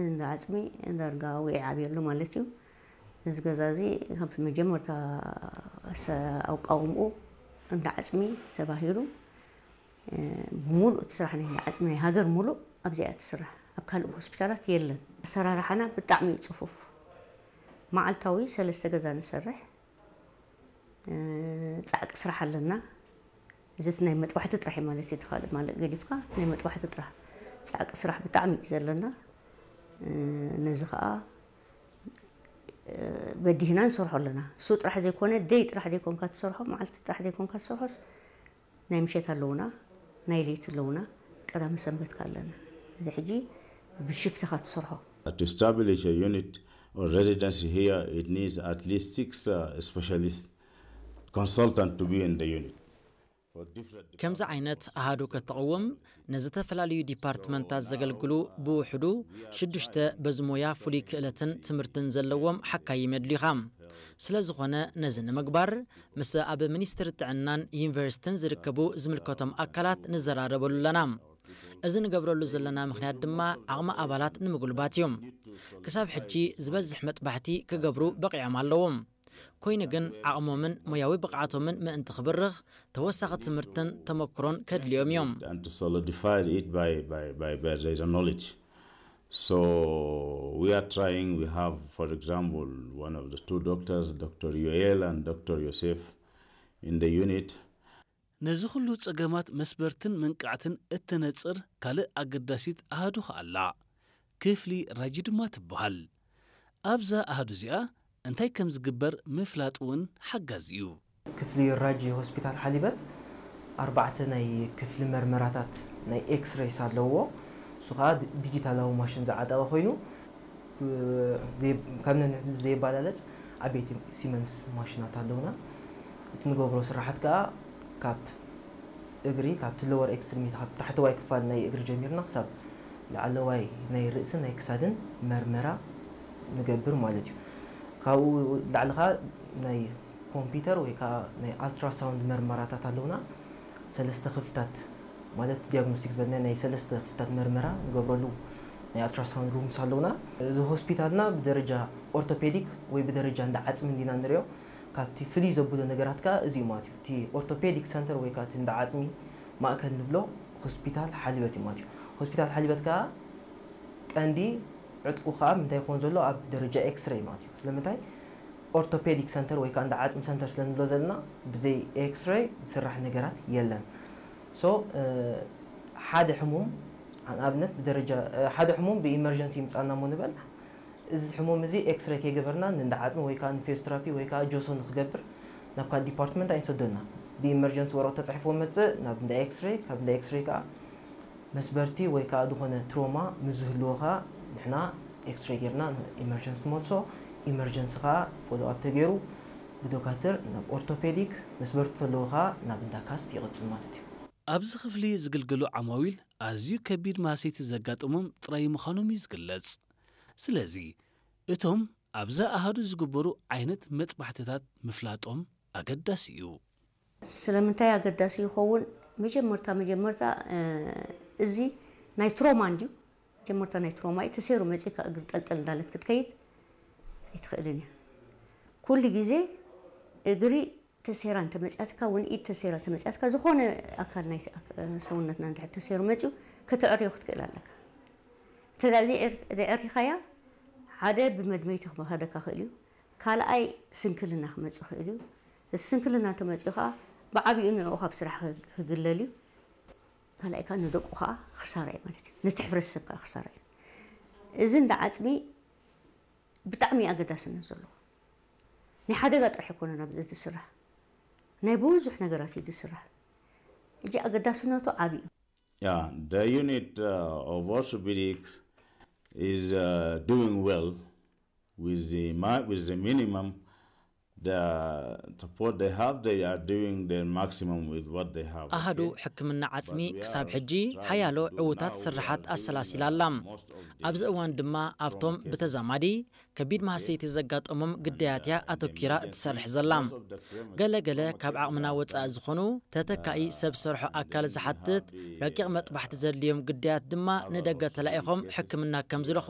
እንዳ ዓጽሚ ዳርጋ ውዒ ዓብየሉ ማለት እዩ። እዚ ገዛ እዚ ካብ መጀመርታ ኣሰ-፣ ኣቋውምኡ እንዳ ዓጽሚ ተባሂሉ፣ እ፣ ብሙሉእ እቲ ስራሕ ናይ እንዳ ዓጽሚ ናይ ሃገር ሙሉእ ኣብዚኣ ትስራሕ። ኣብ ካልእ ሆስፒታላት የለን። ኣሰራርሓና ብጣዕሚ እዩ ጽፉፍ። መዓልታዊ ሰለስተ ገዛ ንሰርሕ። እ፣ ጻዕቂ ስራሕ ኣለና። እዚ እቲ ናይ መጥባሕቲ ጥራሕ እዩ ማለት እዩ። እቲ ካልእ ማለት ገዲፍካ ናይ መጥባሕቲ ጥራሕ። ጻዕቂ ስራሕ ብጣዕሚ እዩ ዘለና። እ፣ ነዚ ኸኣ፣ እ፣ በዲህና ንሰርሖ ኣለና። እሱ ጥራሕ ዘይኮነ፣ ደይ ጥራሕ ዘይኮንካ ትሰርሖ፣ መዓልቲ ጥራሕ ዘይኮንካ ትሰርሖስ፣ ናይ ምሸት ኣለውና፣ ናይ ለይቲ ኣለውና፣ ቀዳመ ሰንበት ከ ኣለና። እዚ ሕጂ ብሽፍት ኢኻ ትሰርሖ። To establish a unit or residency here, it needs at least six, uh, specialist consultant to be in the unit. For different ከምዚ ዓይነት ኣሃዱ ከተቕውም፣ ንዝተፈላለዩ ዲፓርትመንታት ዘገልግሉ ብውሕዱ ሽዱሽተ በዚ ሞያ ፍሉይ ክእለትን ትምህርትን ዘለዎም ሓካይም የድልዩኻ። ስለ ዝኾነ፣ ነዚ ንምግባር፣ ምስ ኣብ ሚኒስትሪ ጥዕናን ዩኒቨርሲቲን ዝርከቡ ዝምልከቶም ኣካላት ንዘራረበሉ ኣለና። እዚ ንገብረሉ ዘለና ምኽንያት ድማ ዓቕሚ ኣባላት ንምጉልባት እዩ። ክሳብ ሕጂ ዝበዝሕ መጥባሕቲ ክገብሩ በቒዖም ኣለዉ። ኮይኑ ግን ዓቕሞምን ሞያዊ ብቕዓቶምን ምእንቲ ክብርኽ ተወሳኺ ትምህርትን ተመክሮን ከድልዮም እዮም። And to solidify it by, by, by, by their knowledge. So we are trying, we have, for example, one of the two doctors, Doctor Yoel and Doctor Yosef, in the unit. ነዚ ኩሉ ጸገማት መስበርትን መንቃዕትን እተነጽር ካልእ ኣገዳሲት ኣሃዱ ከኣ ኣላ። ክፍሊ ራጂ ድማ ትበሃል። ኣብዛ ኣሃዱ እዚኣ እንታይ ከም ዝግበር ምፍላጥ እውን ሓጋዚ እዩ። ክፍሊ ራጂ ሆስፒታል ሓሊበት ኣርባዕተ ናይ ክፍሊ መርመራታት ናይ ኤክስሬይስ ኣለዎ። እሱ ኸኣ ዲ-፣ ዲጂታላዊ ማሽን ዝዓጠቐ ኮይኑ፣ ብ-፣ ዘይ-፣ ካብ ነንሕድሕዱ ዘየባላለጽ ዓበይቲ ሲመንስ ማሽናት ኣለውና። እቲ ንገብሮ ስራሓት ከኣ ካብ እግሪ፣ ካብቲ ሎወር ኤክስትሪሚቲ፣ ካብ ታሕተዋይ ክፋል ናይ እግሪ ጀሚርና ክሳብ ላዕለዋይ ናይ ርእስን ናይ ክሳድን መርመራ ንገብር ማለት እዩ። ካብኡ ላዕሊ ኸኣ ናይ ኮምፒውተር ወይ ከዓ ናይ ኣልትራሳውንድ መርመራታት ኣለውና። ሰለስተ ክፍልታት ማለት ዲያግኖስቲክ ዝበልና ናይ ሰለስተ ክፍልታት መርመራ ንገብረሉ ናይ ኣልትራሳውንድ ሩምስ ኣለውና። እዚ ሆስፒታልና ብደረጃ ኦርቶፔዲክ ወይ ብደረጃ እንዳ ዓጽሚ እንዲና ንሪኦ። ካብቲ ፍልይ ዘብሎ ነገራት ከዓ እዚ እዩ ማለት እዩ። እቲ ኦርቶፔዲክ ሰንተር ወይ ከዓ እቲ እንዳ ዓጽሚ ማእከል ንብሎ ሆስፒታል ሓሊበት እዩ ማለት እዩ። ሆስፒታል ሓሊበት ከዓ ቀንዲ ዕጥቁ ከዓ ምንታይ ይኸውን ዘሎ ኣብ ደረጃ ኤክስሬይ ማለት እዩ። ስለምንታይ ኦርቶፔዲክ ሰንተር ወይ ከዓ እንዳ ዓጽሚ ሰንተር ስለ ንብሎ ዘለና ብዘይ ኤክስሬይ ዝስራሕ ነገራት የለን። ሶ፣ እ፣ ሓደ ሕሙም ንኣብነት ብደረጃ፣ እ፣ ሓደ ሕሙም ብኢመርጀንሲ ይምጻና እሞ ንበል፣ እዚ ሕሙም እዚ ኤክስሬይ ከይገበርና ንእንዳ ዓጽሚ ወይ ከዓ ንፊዚዮቴራፒ ወይ ከዓ ጆሶ ንክገብር ናብ ካልእ ዲፓርትመንት ኣይንሰዶና። ብኢመርጀንሲ ወረቐት ተጻሒፍዎ መጽእ ናብ እንዳ ኤክስሬይ፣ ካብ እንዳ ኤክስሬይ ከዓ መስበርቲ ወይ ከዓ ዝኾነ ትሮማ ምስ ዝህልዎ ከዓ ንሕና ኤክስሬይ ጌርና ንኢመርጀንሲ ንመልሶ። ኢመርጀንሲ ከዓ ፎሎ ኣፕ ተገይሩ ብዶካትር ናብ ኦርቶፔዲክ፣ መስበርቲ ዘለዎ ከዓ ናብ እንዳ ካስት ይቕጽል ማለት እዩ። ኣብዚ ክፍሊ ዝግልገሉ ዓማዊል ኣዝዩ ከቢድ ማህሰይቲ ዘጋጠሞም ጥራይ ምዃኖም እዩ ዝግለጽ። ስለዚ እቶም ኣብዛ ኣሃዱ ዝግበሩ ዓይነት መጥባሕትታት ምፍላጦም ኣገዳሲ እዩ። ስለምንታይ ኣገዳሲ ይኸውን? መጀመርታ፣ መጀመርታ፣ እ፣ እዚ ናይ ትሮማ እንድዩ። መጀመርታ ናይ ትሮማ እዩ። ተሰይሩ መጺእካ እግሪ ጠልጠል እንዳለት ክትከይድ ኣይትኽእልን እያ። ኩሉ ግዜ እግሪ ተሰይራ እንተመጺኣትካ፣ እውን ኢድ ተሰይራ ተመጺኣትካ፣ ዝኾነ ኣካል ናይ ኣክ-፣ ሰውነትና እንድሕር ተሰይሩ መጺኡ፣ ከተዕርዮ ክትክእል ኣለካ። እንተ ደኣ ዘይዕር-፣ ዘይዕሪኻያ፣ ሓደ ብመድመይቲ ክመኸደካ ክእል እዩ። ካልኣይ ስንክልና ክመጽእ ክእል እዩ። እቲ ስንክልና እንተመጺኡ ከኣ ብዓቢኡ ንዕኡ ካብ ስራሕ ክግ-፣ ክግለል እዩ። ካልኣይ ከኣ ንደቁ ከኣ ክሳራ እዩ ማለት እዩ። ነቲ ሕብረተሰብ ከኣ ክሳራ እዩ። እዚ እንዳ ዓጽሚ ብጣዕሚ እዩ ኣገዳስነት ዘለዎ። ናይ ሓደጋ ጥራሕ ኣይኮነን ኣብዚ ዝስራሕ። ናይ ብዙሕ ነገራት እዩ ዝስራሕ። ሕጂ ኣገዳስነቱ ዓቢ እዩ። Yeah, the unit uh, of orthopedics is uh, doing well with the, mi- with the minimum The support they have, they are doing their maximum with what they have. ኣሃዱ ሕክምና ዓጽሚ ክሳብ ሕጂ ሓያሎ ዕዉታት ስርሓት ኣሰላሲላ ኣላ። ኣብዚ እዋን ድማ ኣብቶም ብተዛማዲ ከቢድ ማህሰይቲ ዘጋጠሞም ግዳያት እያ ኣተኪራ እትሰርሕ ዘላ። ገለ ገለ ካብ ዓቕምና ወጻኢ ዝኾኑ ተተካኢ ሰብ ሰርሖ ኣካል ዝሓትት ረቂቕ መጥባሕቲ ዘድልዮም ግዳያት ድማ ንደገ ተላኢኾም ሕክምና ከም ዝረኽቡ